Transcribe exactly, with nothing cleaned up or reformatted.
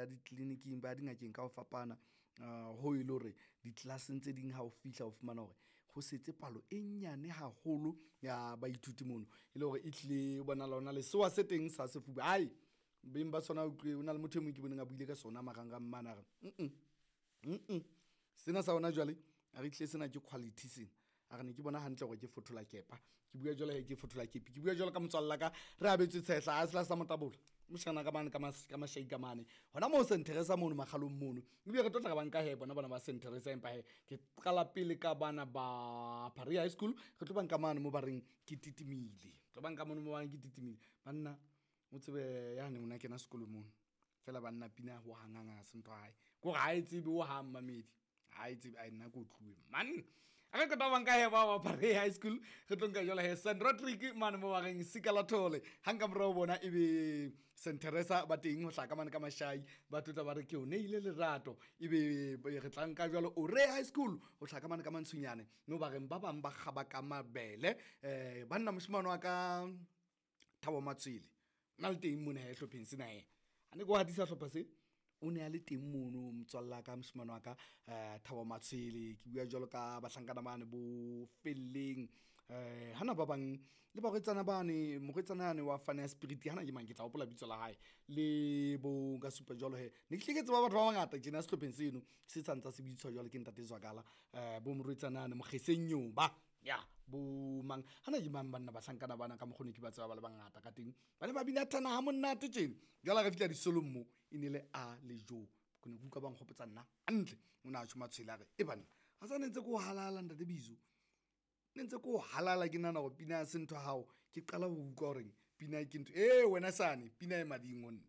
ya ditleliniking, ba ya dingakeng ka ho fapana. Hoo e le hore di-class-eng tse ding ha o fihla o fumana hore ho setse palo e nyane haholo ya baithuti mono, e le hore e hlile ho bonahala ho na le sewa se teng sa sefuba. Ae beng ba sona utlwe ho na le motho e mong ke boneng a buile ka sona marangrang mane a re mm sena sa hona jwale a re hlile sena ke quality sena. A re ne ke bona hantle hore ke fothola kepa, ke bua jwalo he ke fothola kepi, ke bua jwalo ka motswalla ka re abetswe tshehla a sela sa motabola moshana ka mane ka ka mashai ka mane hona moo Saint Teresa mono makgalong mono. Ebile re tlo tla re banka he bona bana ba Saint Teresa, empa he ke qala pele ka bana ba Paris High School. Re tlo banka mane mo ba reng ke titimile, tlo banka mono mo ba reng ke titimile. Banna o tsebe yane o na kena sekolo mono fela banna pina ho hang hang ha se ntho ya hae, ke hore ha e tsebe ho hang mamedi ha e tsebe. Ai nna ke otluwe man. A re qeta banka he ba ba Paris High School, re tlo nka jwale he Saint Rodrick mane mo ba reng sika la thole. Hang ka morao bona ebe Saint Teresa ba teng ho hlaka mane ka mashai, ba tlotla ba re ke o neile lerato. Ebe re tla nka jwalo Ore High School ho hlaka mane ka mantshunyane mo ba reng ba bang ba kgaba ka mabele. Eh banna moshemane wa ka Thabo Matshwele na le teng mona he hlopheng sena he. Ha ne ke o hatisa hlopha se o ne a le teng mono motswalla ka moshemane wa ka eh Thabo Matshwele. Ke bua jwalo ka bahlankana bane bo Felleng eh hana ba bang le barwetsana bane, morwetsana yane wa Fane ya Spirit hana ke mang ke tla hopola bitso la hae le bo nka supa jwalo he. Ne ke hlile ke tseba batho ba bangata tjena sehlopheng seno se santsa se bitswa jwalo ke ntate Zwakala eh bo morwetsana yane Mokgeseng Nyoba ya bo mang hana ke mang banna bahlankana bana ka mokgone ke ba tseba ba le bangata ka teng, ba ne ba bina thana ha monate tjena. Jwale ha re fihla disolong mo e ne le a le jo, ke ne ke utlwa ba nkgopotsa nna hantle. O ne a tjho Matshwele a re e banna ha sa ne ntse ke o halala ntate Bizo, ne ntse ke o halala ke nahana hore pina ya se ntho ya hao. Ke qala ho utlwa horeng pina ke ntho e wena sane pina e mading ho nna.